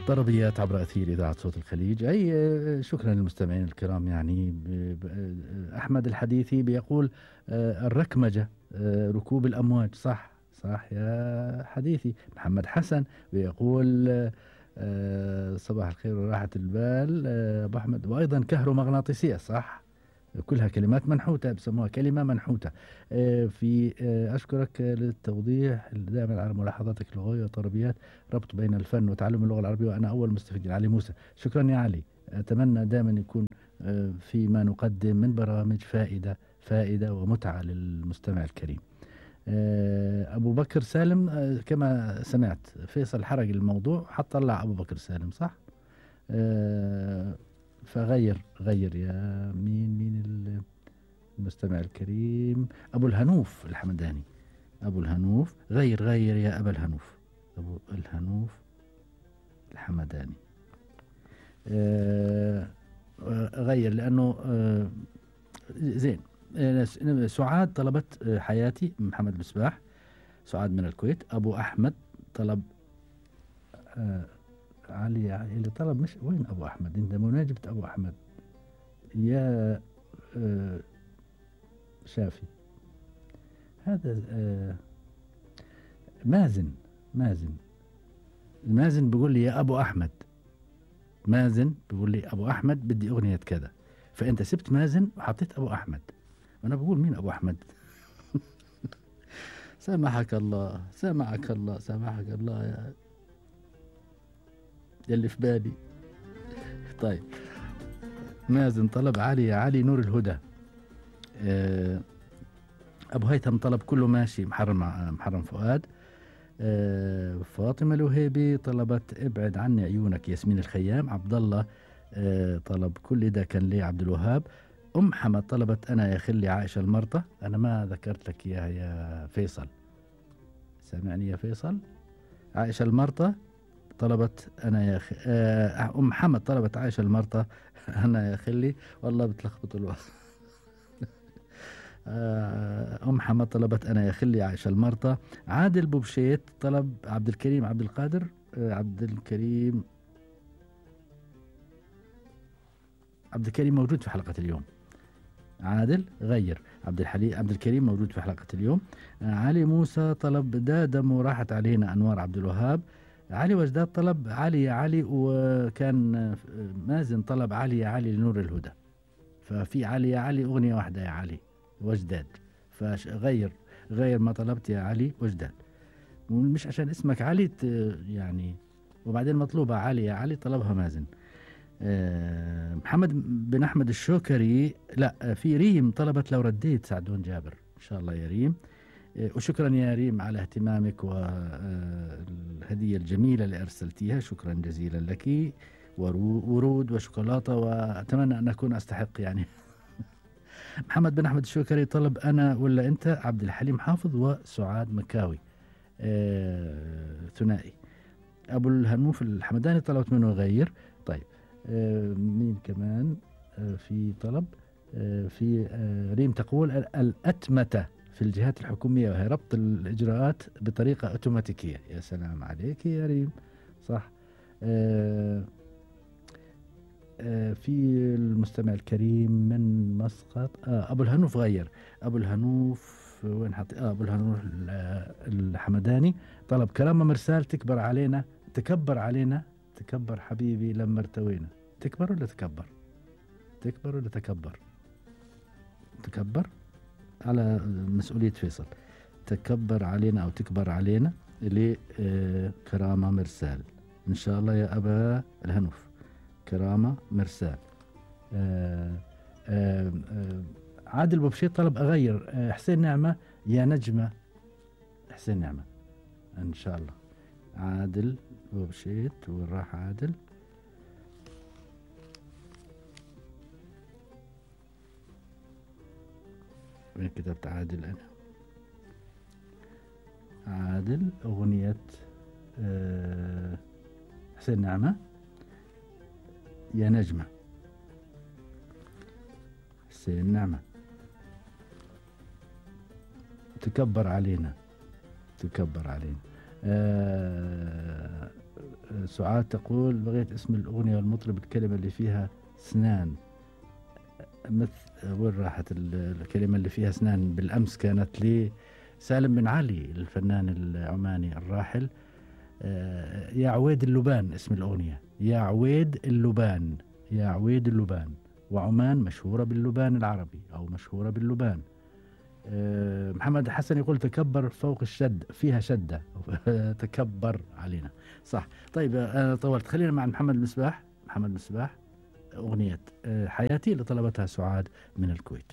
طربيات عبر أثير إذاعة صوت الخليج. أي شكرا للمستمعين الكرام. يعني أحمد الحديثي بيقول الركمجة ركوب الأمواج. صح صح يا حديثي. محمد حسن بيقول صباح الخير وراحة البال أبو أحمد. وأيضا كهرومغناطيسية. صح، كلها كلمات منحوتة، بسموها كلمة منحوتة. في أشكرك للتوضيح دائما على ملاحظاتك اللغوية وطربيات ربط بين الفن وتعلم اللغة العربية، وأنا أول مستفيد. علي موسى، شكرا يا علي. أتمنى دائما يكون فيما نقدم من برامج فائدة ومتعة للمستمع الكريم. أبو بكر سالم، كما سمعت فيصل حرق الموضوع حتى طلع أبو بكر سالم. صح، فغير يا مين المستمع الكريم. أبو الهنوف الحمداني، أبو الهنوف غير يا أبا الهنوف. أبو الهنوف الحمداني غير لأنه زين. سعاد طلبت حياتي محمد مصباح، سعاد من الكويت. أبو أحمد طلب علي اللي طلب. مش وين أبو أحمد؟ أنت مناجبة أبو أحمد يا شافي. هذا مازن بيقول لي يا أبو أحمد. مازن بيقول لي أبو أحمد بدي أغنية كذا، فأنت سبت مازن وحطيت أبو أحمد، وأنا بقول مين أبو أحمد؟ سامحك الله يا اللي في بالي. طيب، مازن طلب علي يا علي نور الهدى. أبو هيثم طلب كله ماشي محرم فؤاد. فاطمة الوهيبي طلبت ابعد عني عيونك ياسمين الخيام. عبد الله طلب كل ده كان لي عبد الوهاب. أم حمد طلبت أنا يا خلي عائشة المرطة. أنا ما ذكرت لك يا فيصل، سامعني يا فيصل؟ عائشة المرطة طلبت أنا يا أم حمد طلبت عائشة المرطة أنا يا خلي. والله بتلخبط الوقت. أم حمد طلبت أنا يا خلي عائشة المرطة. عادل بوبشيت طلب عبد الكريم عبد القادر. عبد الكريم موجود في حلقة اليوم. عادل غير. عبد الكريم موجود في حلقة اليوم. علي موسى طلب دادم وراحت علينا أنوار عبد الوهاب. علي وجداد طلب علي يا علي، وكان مازن طلب علي يا علي لنور الهدى. ففي علي يا علي أغنية واحدة يا علي وجداد، فغير ما طلبت يا علي وجداد، مش عشان اسمك علي يعني. وبعدين مطلوبة علي يا علي طلبها مازن. محمد بن أحمد الشوكري، لا، في ريم طلبت لو رديت سعدون جابر. إن شاء الله يا ريم. وشكرا يا ريم على اهتمامك والهدية الجميلة اللي أرسلتيها. شكرا جزيلا لك. ورود وشوكولاتة، وأتمنى أن أكون أستحق يعني. محمد بن أحمد الشوكري طلب أنا ولا أنت عبد الحليم حافظ وسعاد مكاوي. ثنائي. أبو الهنوف الحمداني طلبت منه غير. طيب، مين كمان في طلب؟ في ريم تقول الأتمتة في الجهات الحكومية وهي ربط الإجراءات بطريقة أوتوماتيكية. يا سلام عليك يا ريم، صح. في المستمع الكريم من مسقط. أبو الهنوف غير. أبو الهنوف وين حط؟ أبو الهنوف الحمداني طلب كرامة مرسال تكبر علينا. تكبر حبيبي لما ارتوينا. تكبر ولا تكبر؟ تكبر على مسؤولية فيصل. تكبر علينا أو تكبر علينا لكرامة مرسال. إن شاء الله يا أبا الهنوف. كرامة مرسال. عادل بوبشيت طلب أغير. حسين نعمة يا نجمة. حسين نعمة إن شاء الله. عادل بوبشيت، وين راح عادل؟ وين كتبت عادل أنا؟ عادل أغنية حسين نعمة يا نجمة. حسين نعمة تكبر علينا. سعاد تقول بغيت اسم الأغنية والمطرب الكلمة اللي فيها سنان. مثل وين راحت الكلمة اللي فيها سنان؟ بالأمس كانت لي سالم بن علي الفنان العماني الراحل. يا عويد اللبان اسم الأغنية، يا عويد اللبان، يا عويد اللبان. وعمان مشهورة باللبان العربي أو مشهورة باللبان. محمد حسن يقول تكبر فوق الشد، فيها شدة تكبر علينا. صح. طيب أنا طولت، خلينا مع محمد المصباح. محمد المصباح أغنية حياتي اللي طلبتها سعاد من الكويت.